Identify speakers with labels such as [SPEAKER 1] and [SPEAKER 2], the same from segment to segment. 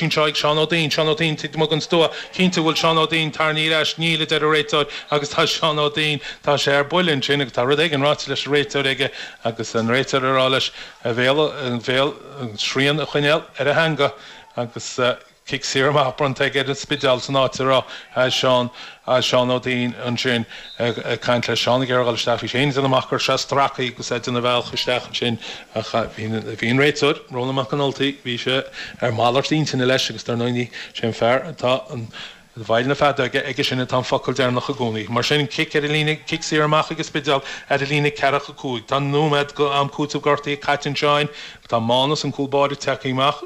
[SPEAKER 1] Anseo ag Seán Ó Duinn, Seán Ó Duinn taobh amuigh den stua, cinnte bhfuil Seán Ó Duinn tarraingthe ar ais, níl a deir an réiteoir agus tá Seán Ó Duinn, tá sé ar buile ansin agus tá rud éigin ráite leis an réiteoir aige agus an réiteoir ag rá leis a bhéal, a bhéal, srian a choinneáil ar a theanga agus cic saor amach bronnta aige ar an Spidéal san áit a raibh Seán. Seán Ó Duinn ansin ag caint le Seán ag iarraidh a dhul isteach. Bhí sé féin ag déanamh amach go raibh sé stractha agus é ag déanamh a bhealach isteach ansin ach bhí an réiteoir, Rónán Mac an Ultaigh, bhí sé ar malairt intinne leis agus dar ndóigh sé an fear atá i bhfeighil na feadóige, aige sin atá an focal deireanach i gcónaí. Mar sin, cic ar an líne, cic saor amach ag an Spidéal ar an líne ceathracha 5. Tá nóiméad go am cúitimh gortaithe caite anseo. Tá Mánas an cúl báire tagtha amach.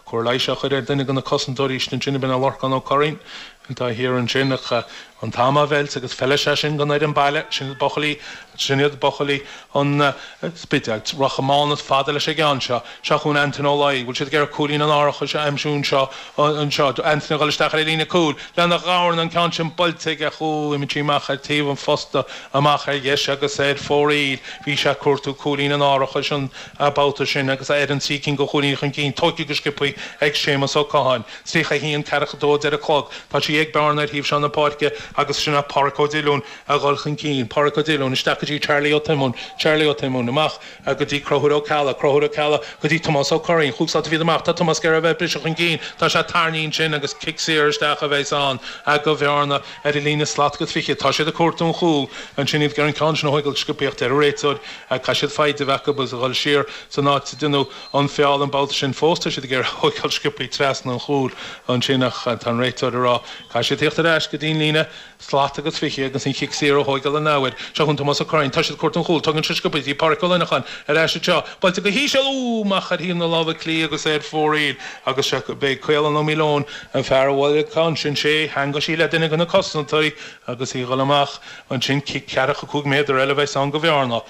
[SPEAKER 1] Cóir leighis á chur ar duine de na cosantóirí istigh ansin, ab in é Lorcán Ó Curraoin atá thiar ansin ach an t-am á mheilt agus feilfidh sé sin don fhoireann baile, sin iad buachaillí, sin iad buachaillí an Spidéil. Rachaidh Mánas fada leis an gceann seo. Seo chugainn Antaine Ó Laoi. Bhfuil siad ag iarraidh cúilín an árachais a aimsiú anseo, anseo. Antaine ag dul isteach ar an líne cúil lena dhorn, an ceann sin buailte aige, ó, imigh sí amach ar taobh an phosta, amach ar dheis agus ar fóraoil. Bhí sé ag cuartú cúilín an árachais an. babhta sin agus é ar an trí cinn de chúilíní chun cinn, tógtha go sciobtha ag Séamus Ó Catháin. 31, 42 a deir an clog. Tá sí ag Bearna ar thaobh seo na páirce agus sin é Páraic Ó Diollúin a dhul chun cinn. Páraic Ó Diollúin isteach go dtí Charlie Ó Tiomáin. Charlie Ó Tiomáin amach go dtí Conchúr Ó Ceallaigh. Conchúr Ó Ceallaigh go dtí Tomás Ó Curraoin. Chúig slat fichead amach. Tá Tomás ag iarraidh a bheith ag briseadh chun cinn. Tá sé tarraingthe ansin agus cic saor isteach a bheas ann do Bhearna. Ar an líne slat agus 20, tá siad ag cuartú an chúil ansin, iad ag iarraidh an ceann sin a thógáil go sciobtha ach deir an réiteoir, caithfidh siad foighid a bheith acu agus a dhul siar san áit a deineadh an feall an babhta sin. Fós tá siad ag iarraidh a thógáil sciobtha trasna an chúil ansin ach tá an réiteoir ag rá caithfidh siad tíocht ar ais go dtí an líne slat agus 20 agus an chic saor a thógáil an athuair. Seo chugainn Tomás Ó Curraoin, tá siad ag cuartú an chúil, tógann sé sciobtha dtí Pádraic Ó Luineacháin ar ais anseo, buailte go híseal, ú, amach ar thaobh na láimhe clí agus ar fóraoil agus beidh Caolán Ó Maoileoin An fear a bhuail an ceann sin, sé, theangaigh sí le duine de na cosantóirí agus í a dhul amach ansin, cic ceathracha 5 méadar eile a bheas ann do Bhearna.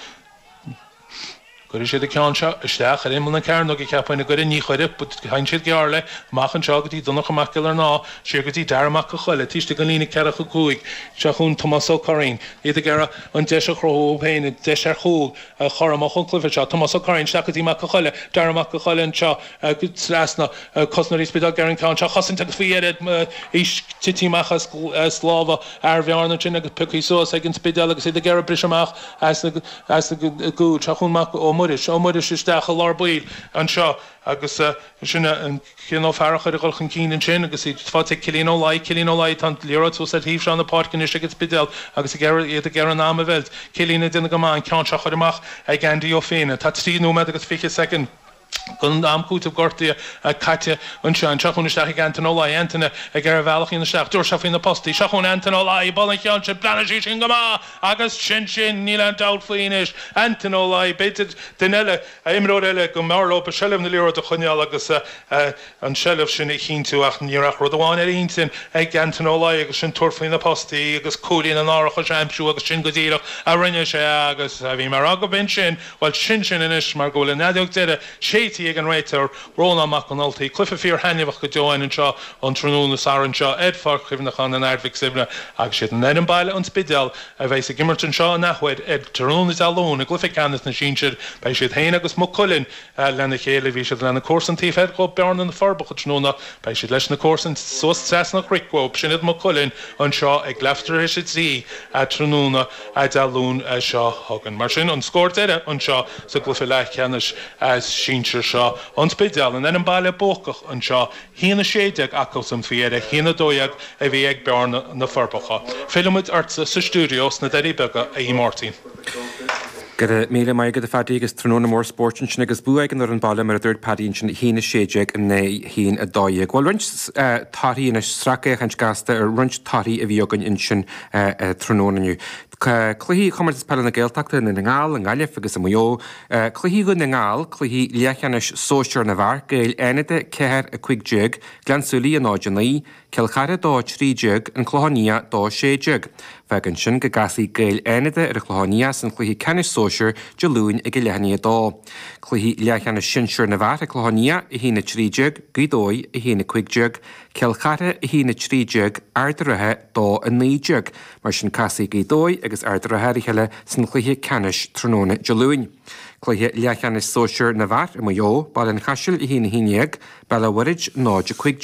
[SPEAKER 1] Cuirfidh siad an ceann seo isteach ar imeall na cearnóige, cheapfainn, an gcuirfidh? Ní chuirfidh. Faigheann siad gearr léi. Amach anseo go dtí Donncha Mac Giollarnáth, siar go dtí Dara Mac Con Choille, taobh istigh den líne ceathracha 5. Seo chugainn Tomás Ó Curraoin. Iad ag iarraidh an deis a chruthú dóibh féin, an deis ar chúl a chur amach ón cluiche seo. Tomás Ó Curraoin isteach go dtí Mac Con Choille, Dara Mac Con Choille anseo. Trasna cosantóirí an Spidéil ag iarraidh an ceann seo a chosaint agus faoi dheireadh í tití amach as lámha fhear Bhearna ansin agus pioctha suas ag an Spidéal agus iad ag iarraidh briseadh amach as an gcúl. Seo chugainn Mac Ó Muiris, Ó Muiris isteach i lár baill anseo agus sin an Cian Ó Fearchair ag dul chun cinn ansin agus iad faighte ag Cillian Ó Laoi, Cillian Ó Laoi, tá an liathróid suas ar thaobh seo na páirce anois ag an Spidéal agus ag iarraidh iad ag iarraidh an am a mheilt. Cillian ag déanamh go maith an ceann seo a chur amach ag Andy Ó Finn. Tá 3 nóiméad agus 20 soicind. Don am cúitimh gortaithe caite anseo. Seo chugainn isteach ag Antaine Ó Laoi. Antaine ag iarraidh a bhealach a dhéanamh isteach. Dúirt sé faoi na postaí. Seo chugainn Antaine Ó Laoi. Buail an ceann sin. Breathnaigh sí sin go maith agus sin sin. Níl aon dabht faoi anois. Antaine Ó Laoi. B'fhéidir duine eile, imreoir eile go mb'fhearr leo seilbh na liathróide a choinneáil agus an tseilbh sin a chinntiú ach ní raibh ach rud amháin ar a intinn ag Antaine Ó Laoi agus sin tabhairt faoi na postaí agus cúilín an árachais a aimsiú agus sin go díreach a rinne sé agus bhí mé a rá go b'in sin Bhuel, sin sin anois mar go bhfuil an fheadóg deiridh séidte ag an réiteoir, Rónán Mac an Ultaigh. Cluiche fíor-thaitneamhach go deo againn anseo an tráthnóna Sathairn seo ar Pháirc Chuimhneacháin an Aird Mhic Suibhne agus siad an fhoireann baile, An Spidéal, a bheas ag imirt anseo an athuair ar tráthnóna Dé Luain i gcluiche ceannais na sinsear. Beidh siad féin agus Maigh Cuilinn lena chéile. Bhí siad lena comharsain taobh thoir dhóibh Bearna na Forbacha tráthnóna. Beidh siad leis na comharsain suas trasna an chnoic dhóibh. Sin iad Maigh Cuilinn anseo ag leathuair tar éis a 3 tráthnóna. Dé Luain seo chugainn. Mar sin, an scór deiridh anseo sa gcluiche leathcheannais sinsir seo, An Spidéal, an fhoireann baile buacach anseo, 1-16 acusan faoi dheireadh, 1-12 a bhí ag Bearna na Forbacha. Fillfimid ortsa sa stiúideo sna Doirí Beaga, a Mháirtín.
[SPEAKER 2] Go raibh míle maith agat a Phaddy agus tráthnóna mór spóirt ansin agus bua ag an fhoireann baile mar a dúirt Paddy ansin 1-16 in aghaidh 1-12. Bhuel roinnt torthaí anois, sracfhéachaint gasta ar roinnt torthaí a bhí againn ansin tráthnóna inniu. Cluichí Chomórtas Peile na Gaeltachta i nDún na nGall, i nGaillimh agus i Maigh Eo. Cluichí Dhún na nGall, cluichí leathcheannais sóisear na bhfear, Gaeil Fhánada 4, 15, Gleann tSúilí 0, 9, Cill Chartha 2, 13, An Clochán Liath 2, 16. Fágann sin go gcasfaidh Gaeil Fhánada ar an Chlochán Liath san chluiche ceannais sóisear. Sóisir Dé Luain ag a leath i ndiaidh a 2. Cluichí leathcheannais Sinsir na bhFear ag Clochán Liath, 1-13, Gaoth Dobhair, 1-15, Cill Chartha, 1-13, Ard an Rátha, 2-19. Mar sin casfaidh Gaoth Dobhair agus Ard an Rátha ar a chéile san chluiche ceannais tráthnóna Dé Luain. Cluiche leathcheannais Sóisir na bhFear i Maigh Eo, Baile an Chaisil, 1-11, Béal an Mhuirthead, 0-15.